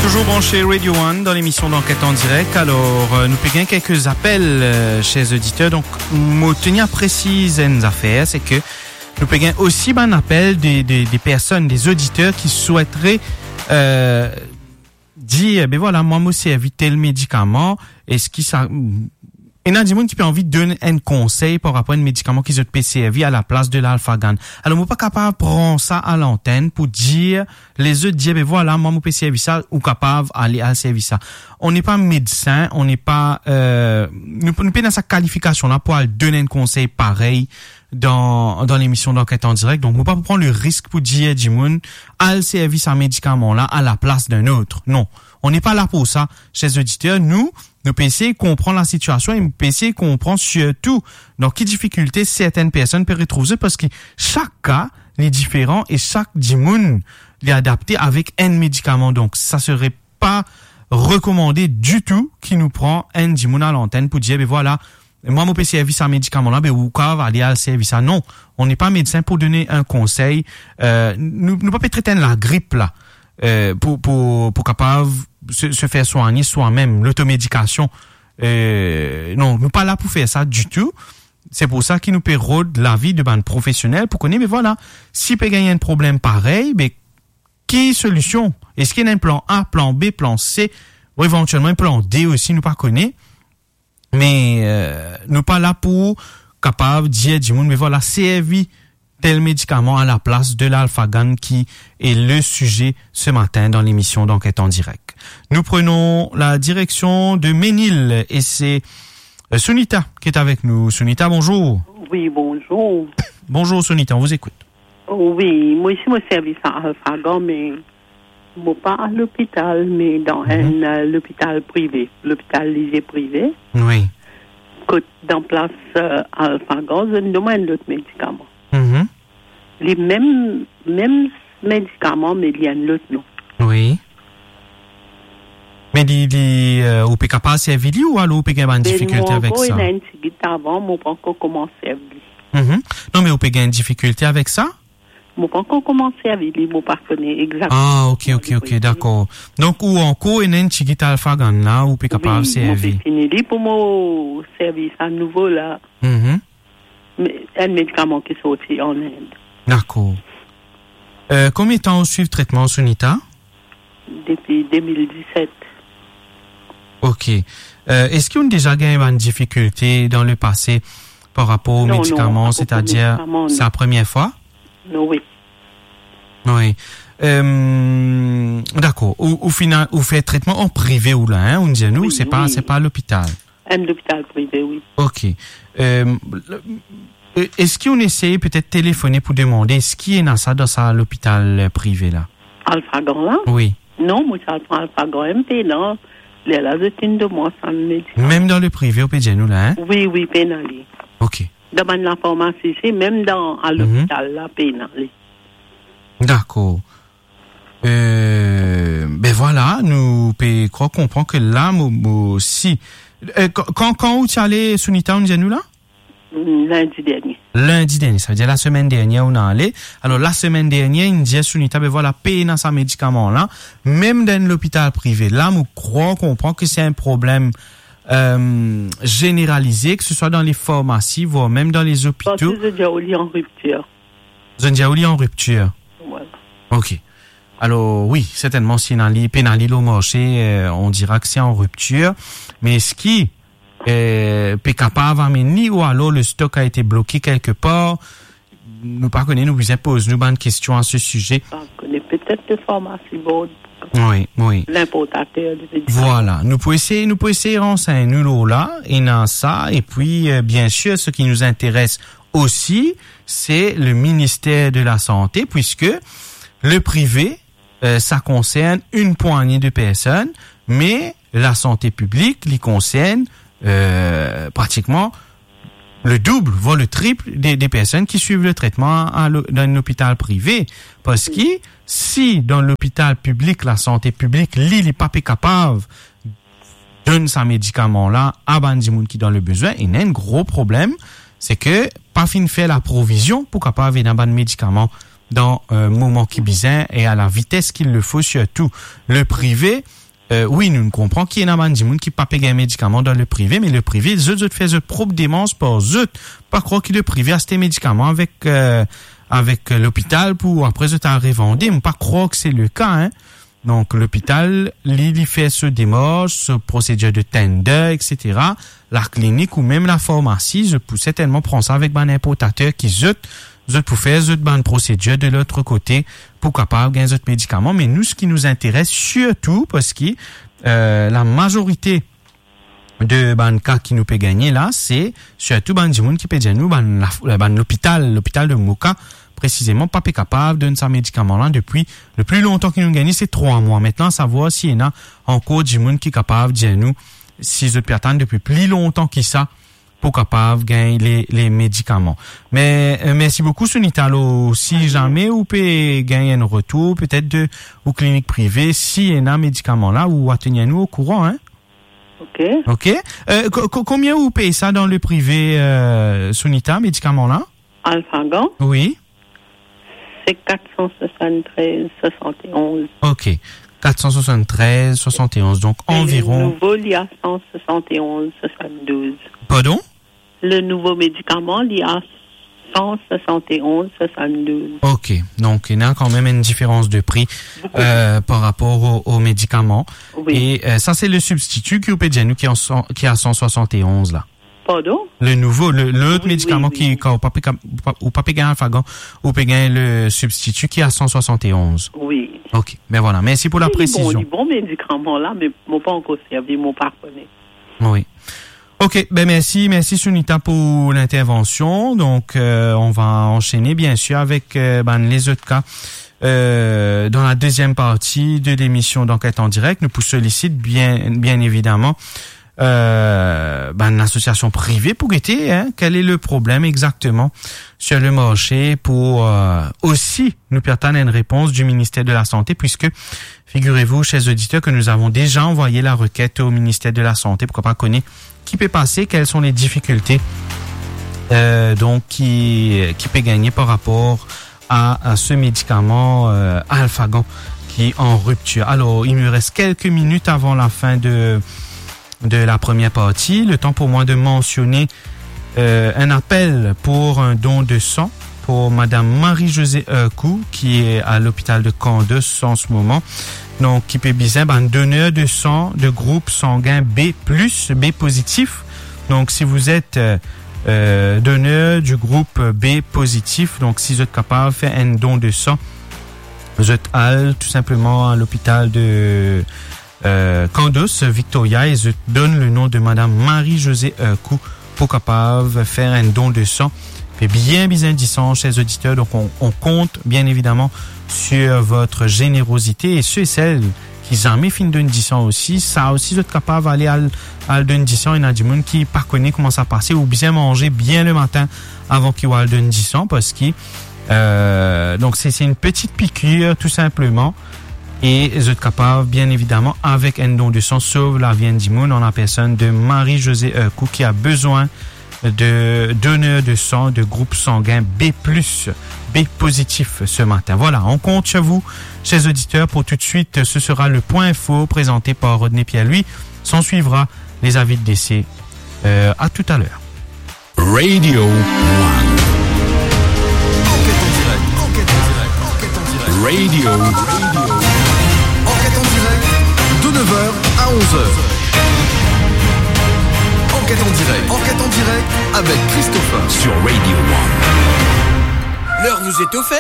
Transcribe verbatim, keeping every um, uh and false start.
Toujours branché Radio One dans l'émission d'Enquête en direct. Alors, euh, nou pe gagn quelques appels, euh, chers auditeurs. Donc, mo teni a presiz enn zafer, se ke nou pe gagn osi bann apel de, de, de personnes, des auditeurs qui souhaiteraient, euh, dir, "Ben voilà, mwa mo servi tel medikaman, eski sa..." Ena dimoun ki pe anvi donn enn konsey par rapor a enn medikaman ki zot pe servi a laplas de l'Alphagan. Alor, mo pa kapav pran sa a lantenn pou dir, lezot dir, "Ben voilà, mwa mo pe servi sa, ou kapav ale al servi sa." On n'est pas médecin, on n'est pas, euh, nou, nou pena sa kalifikasion la pou al donn enn konsey parey dan, dan lemision d'Enquête en direct. Donk, mo pa pou pran le risk pou dir dimoun, "Al servi sa medikaman la a laplas d'un autre." Non, on n'est pas là pour ça, chers auditeurs. Nou, nou pe esey konpran lasitiasion e nou pe esey konpran sirtou dan ki difikilte sertenn personn pe retrouv zot, parski sak ka, li diferan e sak dimoun, li adapte avek enn medikaman. Donk, sa sere pa rekomande ditou ki nou pran enn dimoun a lantenn pou dir, "Ben voilà, mwa mo pe servi sa medikaman la, ben ou kav ale al servi sa." Non, on n'est pas médecin pour donner un conseil. Euh, nou, nou pa pe tret enn lagrip la, euh, pou, pou, pou kapav se, se fer swagne swa-mem, lotomedikasion. Euh, non, nou pa la pou fer sa ditou. Se pou sa ki nou pe rod lavi de bann profesionel pou kone, "Ben voilà, si pe gagn enn problem parey, ben ki solision? Eski ena enn plan A, plan B, plan C, ou evantielman enn plan D osi, nou pa kone." Me, euh, nou pa la pou kapav dir dimoun, "Ben voilà, servi tel medikaman a laplas de l'Alphagan", ki est le sujet ce matin dans l'émission d'Enquête en direct. Nous prenons la direction de Ménil et c'est, euh, Sunita qui est avec nous. Sunita, bonjour. Oui, bonjour. Bonjour Sunita, on vous écoute. Wi, mwa osi mo servi sa Alphagan, me mo pa lopital, me dan enn, euh, lopital prive, lopital lizie prive. Wi. Kot dan plas, euh, Alphagan, zot donn mwa enn lot medikaman. Mhm. Li mem, mem medikaman, me li enn lot non. Wi. Me li, li, euh, ou pe kapav servi li ou alor ou pe gagn bann difikilte avek sa? Mo ankor ena enn tigit avan, mo pa ankor koumans servi li. Mhm. Non, me ou pe gagn difikilte avek sa? Mo pa ankor koumans servi li, mo pa kone exakteman. Ah, ok, ok, ok, dakor. Donk, ou ankor ena enn tigit Alphagan la, ou pe kapav servi. Wi, mo pe fini li pou mo servi sa nouvo la. Mhm. Me, enn medikaman ki sorti an Inde. Dakor. Euh, konbien tan ou swiv tretman, Sunita? Depi de mil diset. Ok. Euh, eski ou deza gagn bann difikilte dan lepase par rapor o medikaman, setadir, non, non, pa ankor medikaman, non. Se la premie fwa? Non, wi. Wi. Euh, dakor. Ou, ou fini, ou fer tretman an prive ou la, hein, ou dir nou, wi, se pa, wi, se pa lopital. Enn lopital prive, wi. Ok. Euh, le, euh, eski ou esey petet telefone pou demande eski ena sa dan sa lopital, euh, prive la? Alphagan la? Wi. Non, mo ti al pran Alphagan, mo pena. Lerla zot inn donn mwa sa medikaman. Mem dan le prive, ou pe dir nou la, hein? Wi, wi, pena li. Ok. Dan bann lafarmasi, se mem dan, a, mhm, lopital la, pena li. Dakor. Euh, ben voilà, nou pe krwar konpran ke la, mo, mo, si, euh, kan, kan, kan ou ti ale, Sunita, ou dir nou la? Lindi dernie. Lindi dernie, savedir lasemenn dernie ou inn ale. Alor, lasemenn dernie, inn dir Sunita, ben voilà, pena sa medikaman la. Mem dan enn lopital prive, la, mo krwar konpran ke se enn problem, euh, zeneralize, ke se swa dan le farmasi, vwar mem dan le lopitalo. Parski zot dir ou li an riptir. Zot dir ou li an riptir. Voilà. Ok. Alor, wi, sertennman, si ena li, pena li lor marse, euh, on dira que c'est en rupture. Me eski, euh, pe kapav amenn li ou alor le stock a été bloqué quelque part? Nou pa kone, nou bizin poz nou bann kestion a se size. Pa kone, petet le farmasi board. Wi, wi. Linportater de medikaman. Voilà. Nou pou esey, nou pou esey ransegn nou lor la, ena sa, epi, euh, bien sûr, ce qui nous intéresse aussi, c'est le ministère de la Santé, puisque le privé, euh, ça concerne une poignée de personnes, mais la santé publique, li concerne, euh, pratiquement le double, voire le triple des, des personnes qui suivent le traitement à, à l'o-, dans un hôpital privé. Parski si dan lopital piblik, la santé piblik, li, li pa pe kapav donn sa medikaman la a bann dimoun ki dan le bizwin, ena enn gro problem, se ke pa finn fer laprovizion pou kapav ena bann medikaman dan, euh, moman ki bizin e a la vites ki le fo, sirtou le prive. Euh, wi, nou konpran ki ena bann dimoun ki pa pe gagn medikaman dan le prive, me le prive, zot, zot fer zot prop demars par zot. Pa krwar ki le prive aste medikaman avek, euh, avek, euh, lopital pou apre zot al revande. Mo pa krwar ki se le ka, hein. Donk, lopital, li, li fer so demars, so prosedir de tender, et cetera. Laklinik ou mem lafarmasi, zot pou sertennman pran sa avek bann inportater ki zot, zot pou fer zot bann prosedir de lot kote pou kapav gagn zot medikaman. Me nou, seki nou interes sirtou, parski, euh, lamazorite de bann ka ki nou pe gagne la, se sirtou bann dimoun ki pe dir nou, bann laf-, bann lopital, lopital de Moka, presizeman, pa pe kapav donn sa medikaman la depi, le pli lontan ki nou gagne, se trwa mwa. Aster, savwar si ena ankor dimoun ki kapav dir nou si zot pe atann depi pli lontan ki sa pou kapav gagn le, le medikaman. Me, euh, mersi boukou, Sunita. Alor, si zame ou pe gagn enn retour, petet de, ou klinik prive, si ena medikaman la, ou a tenir nou okouran, hein? Ok. Ok. Euh, ko-, ko-, konbien ou pey sa dan le prive, euh, Sunita, medikaman la? Alphagan? Wi. Se kat san swasann-trez swasann-onz. Ok. Kat san swasann-trez swasann-onz, donk... E anviron. Le nouvo, li a san swasann-onz swasann-douz. Pardon? Le nouvo medikaman, li a san swasann-onz swasann-douz. Ok. Donk, ena kanmem enn diferans de pri, euh, par rapor o, o medikaman. Wi. E, euh, sa, se le sibstiti ki ou pe dir nou ki a san, ki a san swasann-onz la. Pardon? Le nouvo, le, lot medikaman ki, kan ou pa pe, ou pa pe gagn Alphagan, ou pe gagn le sibstiti ki a san swasann-onz. Wi. Ok, ben vwala, mersi pou la presizion. Li bon, li bon medikaman la, me mo pa ankor servi, mo pa kone. Wi. Ok, ben mersi, mersi Sunita pou l'intervention. Donc, euh, on va enchaîner bien sûr avec, euh, ben, les autres cas, euh, dans la deuxième partie de l'émission d'Enquête en direct. Nou pou solisit bien, bien évidemment, euh, ben, lasosiasion prive pou gete, hein, quel est le problème exactement sur le marché pour, euh, aussi nou pe atann enn repons du ministère de la Santé, puisque figurez-vous, chers auditeurs, que nous avons déjà envoyé la requête au ministère de la Santé, pou kapav kone ki pe pase, quelles sont les difficultés, euh, donc, ki, ki pe gagne par rapport à, à ce médicament, euh, Alphagan qui est en rupture. Alors, il me reste quelques minutes avant la fin de, de la première partie. Le temps pour moi de mentionner, euh, un appel pour un don de sang pour Madame Marie-Josée Hercou, qui est à l'hôpital de Candos en ce moment. Donc, ki pe bizin bann donneur de sang de groupe sanguin B plus, B positif. Donc, si vous êtes, euh, euh, donneur du groupe B positif, donc si zot kapav fer enn don de sang, zot al tou sinpleman a lopital de, euh, Candos, Victoria, e zot donn le nom de Madame Marie-Josée Hercou pou kapav fer enn don de sang. Pe bien bizin disan, chers auditeurs, donc on, on compte bien évidemment sur votre générosité, et ceux et celles ki zame finn donn disan osi, sa osi zot kapav ale al, al donn disan. Ena dimoun ki pa kone kouma sa pase, ou bizin manze bien le matin avan ki ou al donn disan, parski, euh, donc c'est, c'est une petite piqûre, tout simplement. E zot kapav, bien évidemment, avec un don de sang, sauver la vie enn dimoun, en la personne de Marie-Josée Hercou, qui a besoin de donneurs de sang de groupe sanguin B plus, B positif ce matin. Voilà, on compte sur vous, chers auditeurs. Pour tout de suite, ce sera le point info présenté par Rodney Pierre-Louis. S'en suivra les avis de décès. Euh, à tout à l'heure. Radio One. Enquête en direct, enquête en direct, enquête en direct. Radio. Enquête en direct, de neuf heures à onze heures. Enquête en direct, enquête en direct avec Christopher sur Radio One. L'heure vous est offerte.